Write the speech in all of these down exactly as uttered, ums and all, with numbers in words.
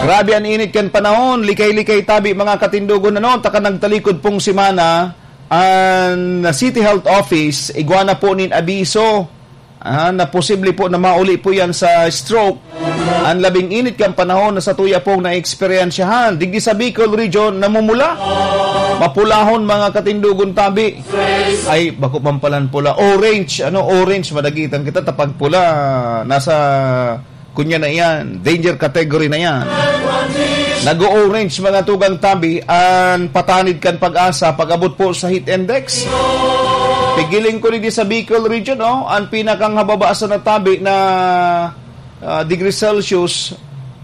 Grabe an init kan panahon, likay-likay tabi, mga katindogon, ano, taka nagtalikod pong semana, an City Health Office, igwa na po nin abiso, ah, na posible po na mauli po yan sa stroke. An labing init kan panahon na satuya pong naeksperyensyahan, digdi sa Bicol Region, namumula. Mapulahon, mga katindogon tabi. Ay, bako man palan pula. Orange, ano, orange, madagitan kita, tapag pula, nasa kunya na iyan, danger category na iyan. Nag-o-orange, mga tugang tabi, an patanid kan PAGASA pag-abot po sa heat index. Pigiling ko digdi sa Bicol Region, oh, an pinakang hababa sa natabi na, ah, degree Celsius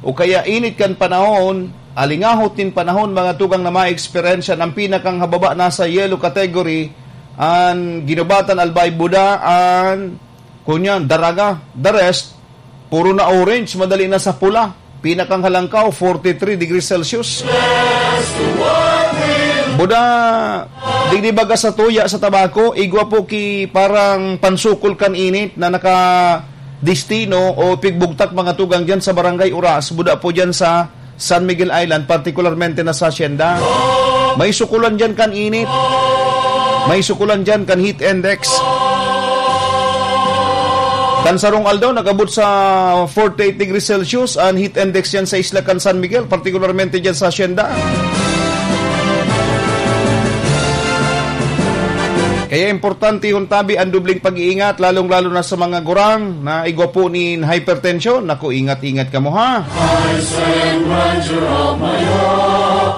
o kaya init kan panahon, alingahot nin panahon, mga tugang na maeksperyensya, an pinakang hababa nasa yellow category, an Guinobatan, Albay, Buda, an Kunyan, Daraga, the rest, puro na orange, madali na sa pula. Pinakang halangkaw, forty-three degrees Celsius. Buda, digdi baga sa tuya sa Tabaco, igwa po ki parang pansukol kan init na naka-destino o pigbugtak, mga tugang, dyan sa Barangay Uras. Buda po dyan sa San Miguel Island, partikularmente na sa Hacienda. May sukulan dyan kan init. May sukulan dyan kan heat index. Kan sarong aldaw, nag-abot sa forty-eight degrees Celsius an heat index dyan sa isla kan San Miguel, partikularmente dyan sa Hacienda. Kaya importante yung tabi, ang dubling pag-iingat, lalong-lalo na sa mga gurang na igwa po nin hypertension. Naku, ingat-ingat kamo, ha?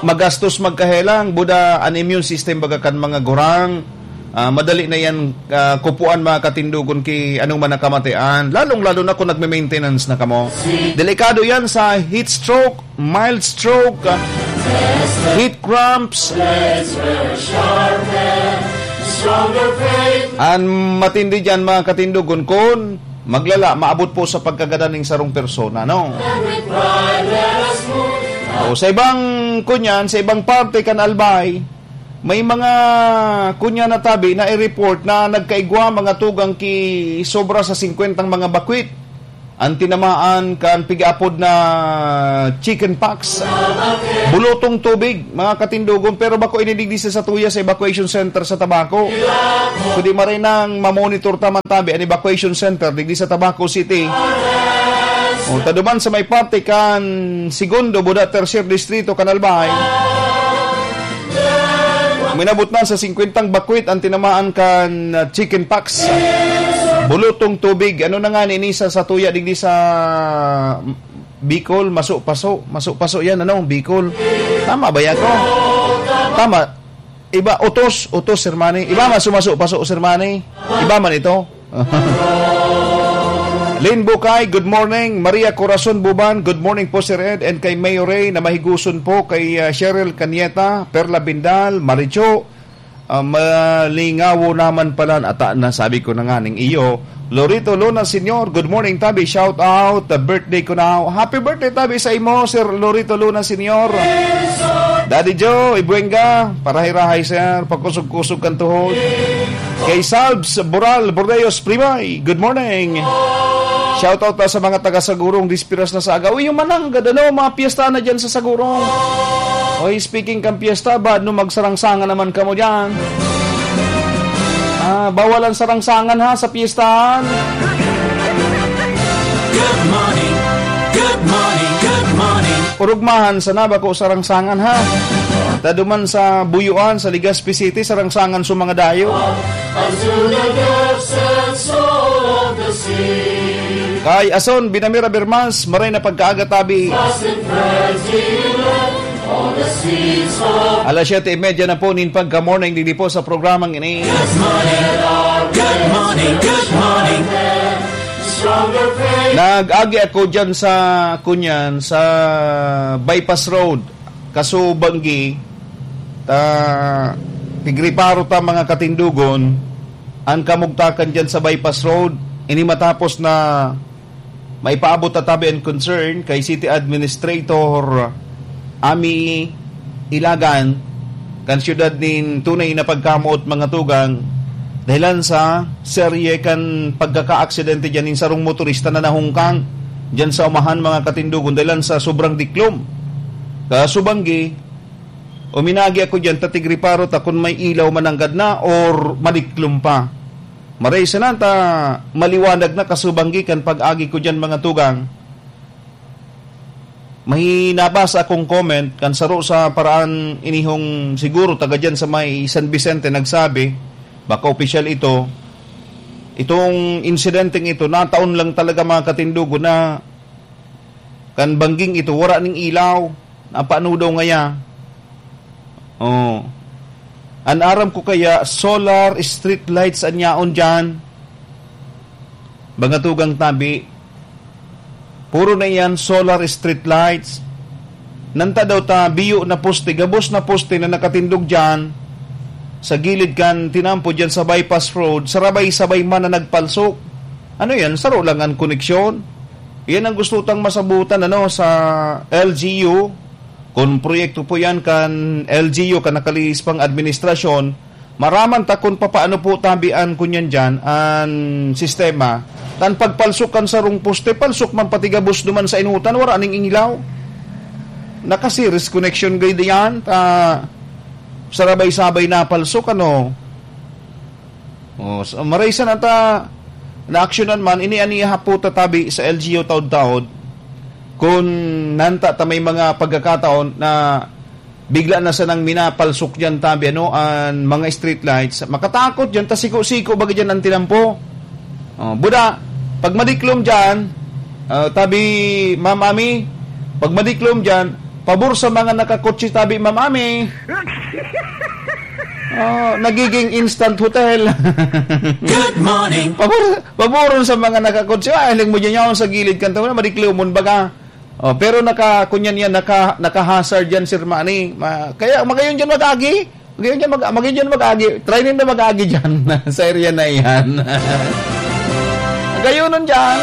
Magastos magkahelang, buda an immune system baga kan mga gurang. Ah, madali na yan, ah, kupuan, mga katindogon, ki anong man na kamatian. Lalong-lalo na kung nagme-maintenance na kamo. Delikado yan sa heat stroke, mild stroke, ah, heat cramps. An matindi diyan, mga katindogon, kun maglala, maabot po sa pagkagadan ning sarong persona, no? O, sa ibang, kunyan, sa ibang parte kan Albay, may mga, kunyan na tabi na i-report na nagkaigwa, mga tugang, ki sobra sa singkwentang mga bakwit an tinamaan kan pig-aapod na chicken pox. Bulutong tubig, mga katindogon, pero bako ini digdi sa satuya sa evacuation center sa Tabaco. Kundi maray nang mamonitor ta man tabi an evacuation center digdi sa Tabaco City. O, ta duman sa may parte kan segundo, buda tercer distrito kan Albay. Minabot na sa singkwentang bakwit an tinamaan kan, ah, chicken pox. Bulutong tubig. Ano na nga ni ini sa, sa tuya digdi sa Bicol? Maso-paso. Maso-paso yan, ano? Bicol. Tama ba yan ko? Tama. Iba, utos. Utos, Sir Manny. Iba man sumaso-paso, Sir Manny. Iba man ito. Lynn Bukay, good morning. Maria Corazon Buban, good morning po, Sir Ed, and kay Mayor Ray na mahiguson po, kay, ah, Cheryl Canieta, Perla Bindal, Maricho, ah, malingawo naman pala, ata na, sabi ko na nga ning iyo. Lorito Luna Senior, good morning, tabi. Shout out, the birthday ko na. Happy birthday, tabi, sa imo, Sir Lorito Luna Senior. Daddy Joe Ibuenga, parahay-rahay, sir. Pakusog-kusog kan tuhod. Kay Salbs Boral Bordeos Primay, good morning. Shout out na sa mga taga Sagurong, dispiras na sa aga. Uy, yung mananggad, ano, mga piyesta na dyan sa Sagurong. Oy, speaking kan piyesta, bad no magsarangsangan naman kamo dyan. Ah, bawal ang sarangsangan, ha, sa pistahan. Good morning, good morning, good morning. Urugmahan sana bako sarangsangan, ha. Taduman sa Buyuan, sa Legazpi City, sarangsangan sa mga dayo. Unto the depths and soul of the sea. Kay Ason Binamira Bermas, maray na pagkaaga tabi. Lost in frenzy, all the seeds of Alas siyete y media na po nin pagka-morning digdi po sa programang ini. Good morning, good morning, good morning. Stronger faith. Nag-agi ako dyan sa, kunyan, sa Bypass Road. Kaso banggi, ta, tigriparo ta, mga katindogon, an kamugtakan dyan sa Bypass Road. Ini matapos na maipaabot ta tabi an concern kay City Administrator Ami Ilagan kan siyudad nin tunay na pagkamoot, mga tugang, dahilan sa serye kan pagkakaaksidente dyan nin sarong motorista na nahungkang dyan sa umahan, mga katindogon, dahilan sa sobrang diklom. Kasubanggi, uminagi ako diyan, ta tigriparo ta kun may ilaw mananggad na or madiklom pa. Maray sana ta maliwanag na, kasubanggi, kan pag-agi ko diyan, mga tugang. May nabasa akong comment kan saro sa paraan inihong siguro taga diyan sa may San Vicente nagsabi, baka opisyal ito, itong insidenteng ito, nataon lang talaga, mga katindogon, na kan bangging ito, wara ning ilaw, napaano daw ngaya. Oh. An aram ko kaya, solar street lights an yaon diyan. Mga tugang tabi, puro na iyan solar street lights. Nanta daw ta biyo na poste, gabos na poste na nakatindog diyan sa gilid kan tinampo diyan sa bypass road, sarabay-sabay man na nagpalsok. Ano yan? Saro lang an koneksyon? Yan ang gusto tang masabutan, ano, sa L G U. Kun proyekto po yan kan L G U, kan nakalihis pang administrasyon, maraman ta kun papaano po tabian kunyan diyan an sistema. Kan pagpalsok kan sarong poste, palsok man pati gabos duman sa inutan, wara ning ilaw. Naka-series connection gay diyan, ta sarabay-sabay na palsok, ano. Oh, so, maray sana ta naaksyonan man, ini an ihapo ta tabi sa L G U taod-taod. Kun nanta ta may mga pagkakataon na bigla na sanang minapalsok diyan tabi, ano, an mga street lights, makatakot diyan, ta siko-siko baga diyan an tinampo. Oh, buda, pag madiklom diyan, ah, tabi, Ma'am Ami, pag madiklom diyan, pabor sa mga nakakotse tabi, Ma'am Ami. Oh, nagiging instant hotel. Good morning. Pabor, paboron sa mga nakakotse. Ah, hiling mo diyan yaon sa gilid kan tabi, madiklomon baga. Oh, pero naka, kunyan yan, naka, naka-hazard yan, Sir Manny. Ma-, kaya magayon diyan mag-agi. Magayon diyan mag-, magayon diyan mag-agi. Try ninda mag-agi diyan sa area na iyan. Magayonon diyan.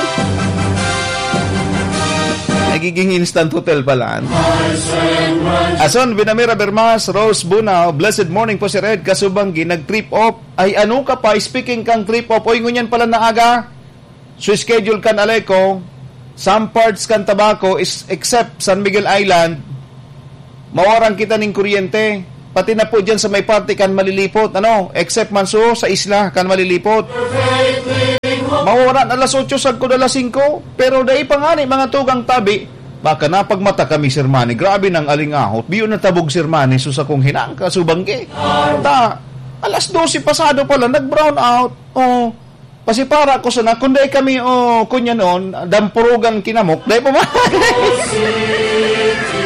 Nagiging instant hotel pala. Ason, Vinamera Bermas, Rose Bunao, blessed morning po, Sir Ed. Kasubanggi, nag-trip off. Ay, ano ka pa? Speaking kang trip off, oy, ngunyan pala na aga. So, schedule kan Aleco, some parts kan Tabaco is, except San Miguel Island, mawaran kita ning kuryente. Pati na po dyan sa may parte kan Malilipot, ano, except man so sa isla kan Malilipot. Mawawaran alas otso sagkod alas singko, pero dai pa ngani, mga tugang tabi, baka napagmata kami, Sir Manny. Grabe nang alingahot. Biyo na tabog, Sir Manny, so sa kong hinang kasubanggi. Ta, alas dose pasado pala, nag-brown out. Oh, pasipara ko sana, kung dai kami, oh, kunya noon, dampurugan kinamok, dai pa ba?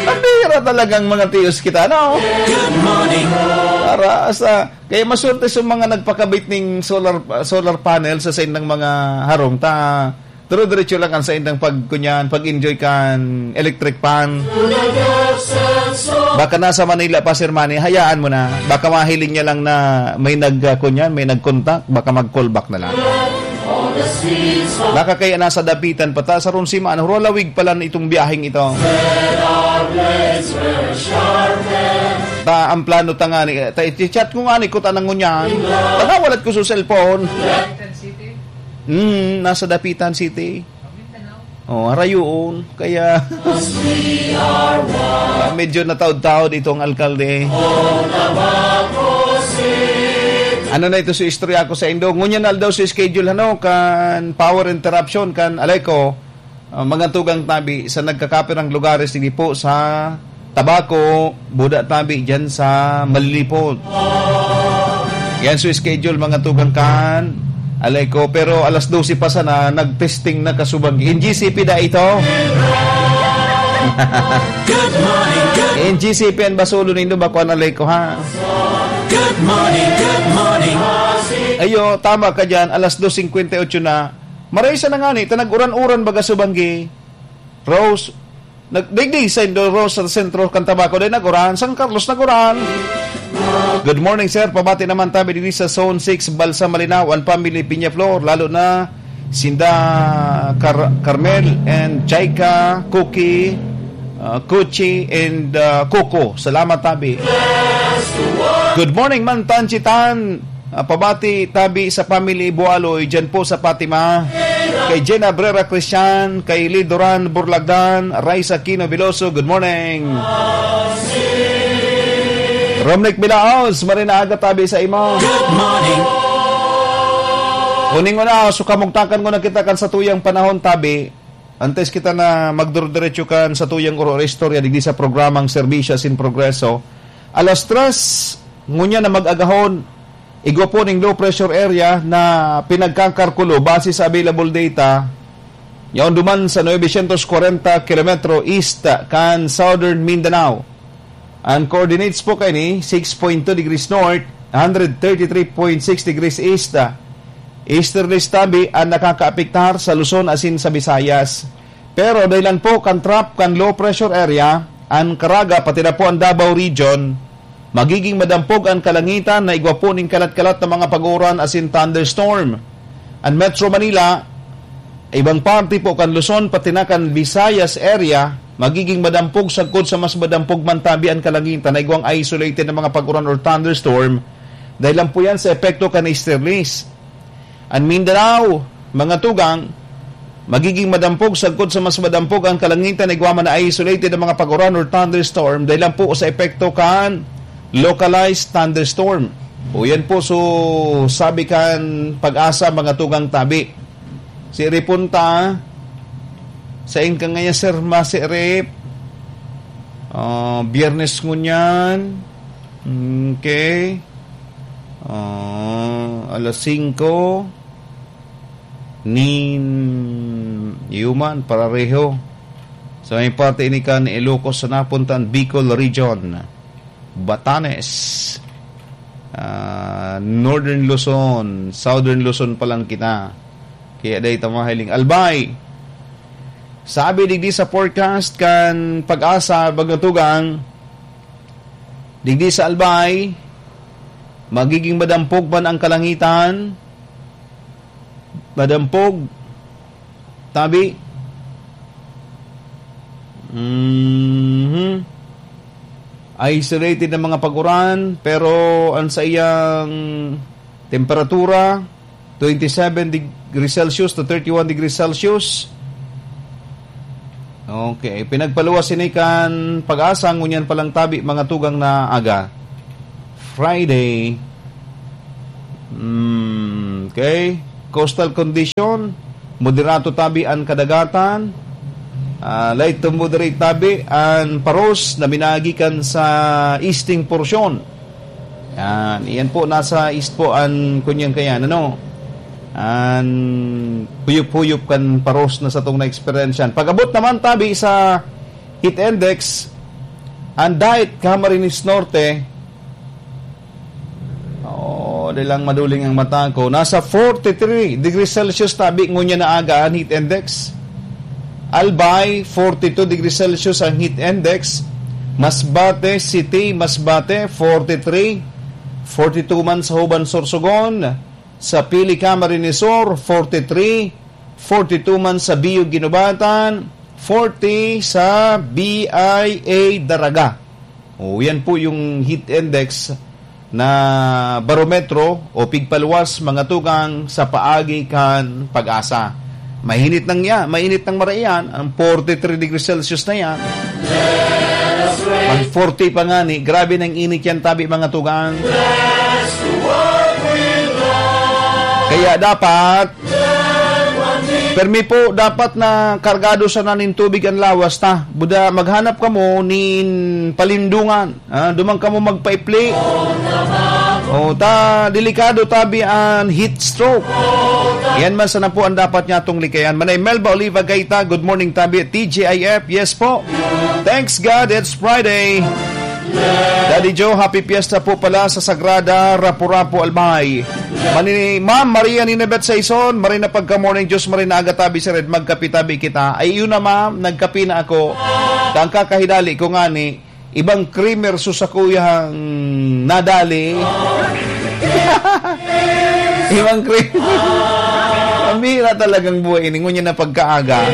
Ang bihira talagang mga tiyos kita, no? Good morning. Para sa, kaya maswerte sa mga nagpakabit ning solar, solar panel sa saindang mga harong, ta, dire-diretso lang ang saindang pagkunyan, pag-enjoy kan electric fan. Baka nasa Manila pa, Sir Manny, hayaan mo na. Baka mahiling niya lang na may nag, ah, kunyan, may nag-contact, baka mag-call back na lang. Baka kaya nasa dapitan pa ta, sa Ronsima, ano, Rolawig pala itong biyaheng ito. Ta, ang plano ta nga ni, ta, i-chat ko nga ni, kuta ng ngunyan. Panawalat ko sa cellphone. Hmm, nasa Dapitan City. Oh, harayoon. Kaya, ah, medyo nataod-taod itong alkalde. Ano na ito sa istorya ko sa indo? Ngunyan aldaw sa schedule, ano, kan power interruption, kan Aleco, ah, mga tugang tabi sa nagkakapirang lugares, hindi po sa Tabaco, buda tabi dyan sa Malilipot. Yan so schedule, mga tugang kan Aleco. Pero alas dose pa sana, nagpesting na kasubag. In G C P da ito. Good morning, good N G C P ang basulo nindo, bako ang Aleco, ha? Good morning, good morning. Ayo, tama ka dyan. Alas dos singkwenta y ocho na. Maray sa nangani, ta nag-uran-uran baga subanggi. Rose, nag-, digdi sa Indo, Rose, sa sentro kan Tabaco, dai nag-uran, San Carlos nag-uran. Good morning, sir. Pabati naman tabi diri sa Zone six, Balsa Malinao, ang family Peñaflor, lalo na sinda Car-, Carmel and Jaika, Cookie, uh, Kuchi, and, uh, Coco. Salamat, tabi. Good morning, man, Tan Chitan. Ah, pabati tabi sa family Bualoy, dyan po sa Fatima. Kay Jen Abrera Christian, kay Lee Duran Burlagdan, Raisa Aquino Veloso, good morning. Romnick Milaos, maray na aga tabi sa imo. Good morning. Uning una, so kamugtakan ko na kita kan satuyang panahon tabi. Antes kita na magdurdiretso kan satuyang oro istorya digdi sa programang Serbisyo asin Progreso. Alas tres, ngunyan na mag-agahon, igwa po ning low pressure area na pinagkakarkulo base sa available data, yaon duman sa novecientos kwarenta kilometro east kan Southern Mindanao. Ang coordinates po kaini, six point two degrees north, one hundred thirty-three point six degrees east. Easterly tabi ang nakakaapektar sa Luzon asin sa Visayas. Pero dahilan po kan trough kan low pressure area, ang Caraga pati na po ang Davao Region, magiging madampog ang kalangitan na igwa po ning kalat-kalat na mga pag-uuran asin thunderstorm. Ang Metro Manila, ibang parte po kan Luzon, pati na kan Visayas area, magiging madampog sagkod sa mas madampog man tabi ang kalangitan na igwang isolated na mga pag-uran or thunderstorm, dahil lang po yan sa epekto kan easterlies. Ang Mindanao, mga tugang, magiging madampog sagkod sa mas madampog ang kalangitan na igwa man na isolated na mga pag-uran or thunderstorm, dahil lang po sa epekto kan localized thunderstorm. O yan po, so sabi kan Pag-asa, mga tugang tabi. Si Ripunta, sa inka ngayon, sir, masirip. Ah, Biyernes ngunyan. Okay. Ah, alas singko. Nin, yuman, parareho. Sa may parte ini kan Ilocos sa napuntan, Bicol Region. Batanes, ah, Northern Luzon, Southern Luzon pa lang kita. Kaya dahil ta mahiling. Albay, sabi digdi sa forecast kan Pag-asa, mga tugang, digdi sa Albay, magiging madampog man ang kalangitan, madampog, tabi. Mhm. Isolated na mga pag-uran, pero ang saiyang temperatura, twenty-seven degrees Celsius to thirty-one degrees Celsius. Okay, pinagpaluwas ini kan Pag-asa, ngunyan pa lang tabi, mga tugang na aga. Friday. Mm, okay. Coastal condition, moderato tabi an kadagatan. Ah, light to moderate tabi an paros na minagikan sa easting porsyon. Yan. Iyan po, nasa east po an kunyang kayan, ano? An huyop-huyop kan paros na satong na-experience yan. Pag-abot naman tabi sa heat index, ang dait Camarines Norte, oh, di lang maduling ang mata ko. Nasa forty-three degrees Celsius tabi ngunyan na aga ang heat index. Albay, forty-two degrees Celsius ang heat index. Masbate City, Masbate, forty-three. Forty-two man sa Huban, Sorsogon. Sa Pili, Camarines Sur, forty-three. Forty-two man sa Biyo, Guinobatan. Forty sa B I A, Daraga. O, yan po yung heat index na barometro o pigpaluwas, mga tugang, sa paagi kan Pag-asa. Mahinit nang ya, mainit nang maraiyan, ang forty-three degrees Celsius na yan. Mag forty pa nga ni, grabe nang init yan tabi, mga tugang. Kaya dapat, permi po, dapat na kargado sana nin tubig ang lawas ta. Buda, maghanap kamo nin palindungan. Ah, duman kamo magpaipli. O, ta, delikado tabi an heat stroke. Yan man sana po ang dapat niya atong likayan. Manay Melba Oliva Gaita, good morning tabi. T G I F, yes po. Thanks God, it's Friday. Daddy Joe, happy fiesta po pala sa Sagrada Rapu-Rapu, Albay. Mani, Ma'am Maria Ninabet Saison, maray na pagka-morning, Diyos maray na aga tabi sa red, magkapi tabi kita. Ay, yun na, ma'am, nagkapi na ako. Tangka kahidali ko ngani, ibang creamer so sakuyang nadali. Ibang creamer. Ang bihira talagang buhay ini. Ngunyan na pagkaaga.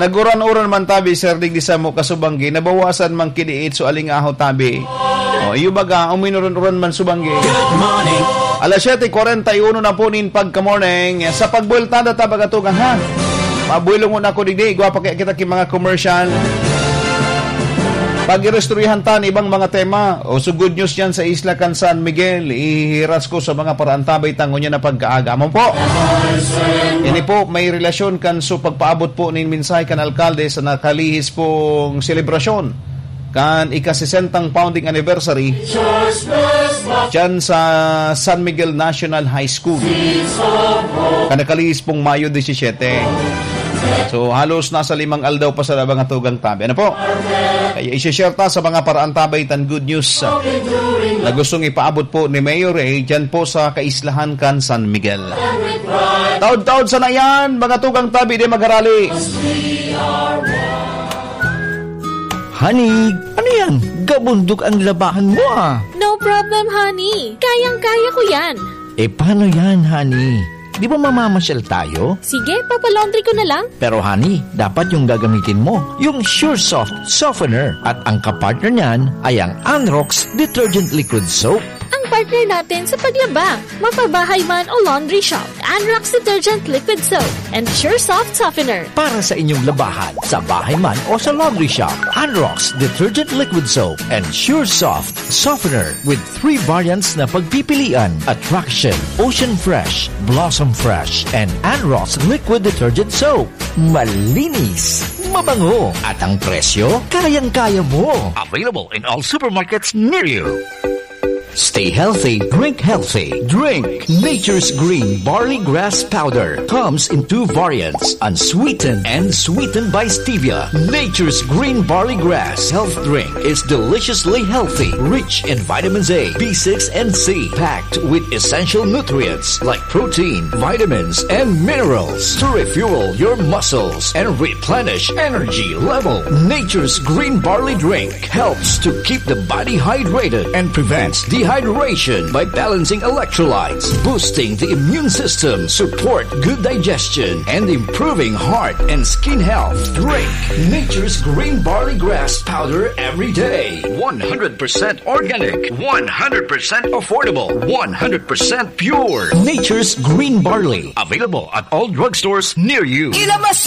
Naguran-uran man tabi, sir, digdi samo kasubanggi, nabawasan man kidiit so alingaho tabi. O, iyo baga, uminuran-uran man subanggi. Good morning. Alas siyete kwarenta y uno na po nin pagka-morning. Sa pagbuwelta na ta, mga tugang, ha? Mabuwelta muna ako digdi. Igwa pa kaya kita ki mga commercial. Pag-irestoryahan ta an ibang mga tema. O, so good news yan sa isla kan San Miguel. Ihihiras ko sa mga paraantabay ta ngunyan na pagkaaga. Amo po. Ini po, may relasyon kan so pagpaabot po nin mensahe kan alkalde sa nakalihis pong selebrasyon kan ika-sesentang founding anniversary diyan sa San Miguel National High School. Kan nakalihis pong Mayo disisiyete. So, halos nasa limang aldaw pa sa labang at tugang tabi. Ano po? Kaya isi-share ta sa mga paraantabay tan good news, ah, na gustong ipaabot po ni Mayor Ray diyan po sa kaislahan kan San Miguel. Taod-taod sana yan, mga tugang tabi, di magharali. Honey, ano yan? Gabundok ang labahan mo, ah. No problem, honey. Kayang-kaya ko yan. Eh, paano yan, honey? Di ba mamamasyal tayo? Sige, papalaundry ko na lang. Pero, honey, dapat yung gagamitin mo, yung Sure Soft Softener. At ang kapartner niyan ay ang Anrox Detergent Liquid Soap. Ang partner natin sa paglaba, mapabahay man o laundry shop. Anrox Detergent Liquid Soap and Sure Soft Softener. Para sa inyong labahan, sa bahay man o sa laundry shop, Anrox Detergent Liquid Soap and Sure Soft Softener with three variants na pagpipilian: Attraction, Ocean Fresh, Blossom Fresh, and Anrox Liquid Detergent Soap. Malinis, mabango, at ang presyo, kayang-kaya mo. Available in all supermarkets near you. Stay healthy, drink healthy. Drink Nature's Green Barley Grass Powder. Comes in two variants, unsweetened and sweetened by stevia. Nature's Green Barley Grass Health Drink is deliciously healthy, rich in vitamins A, B six, and C, packed with essential nutrients like protein, vitamins, and minerals to refuel your muscles and replenish energy level. Nature's Green Barley Drink helps to keep the body hydrated and prevents dehydration by balancing electrolytes, boosting the immune system, support good digestion, and improving heart and skin health. Drink Nature's Green Barley Grass Powder every day. One hundred percent organic, one hundred percent affordable, one hundred percent pure. Nature's Green Barley. Available at all drugstores near you. Ilabas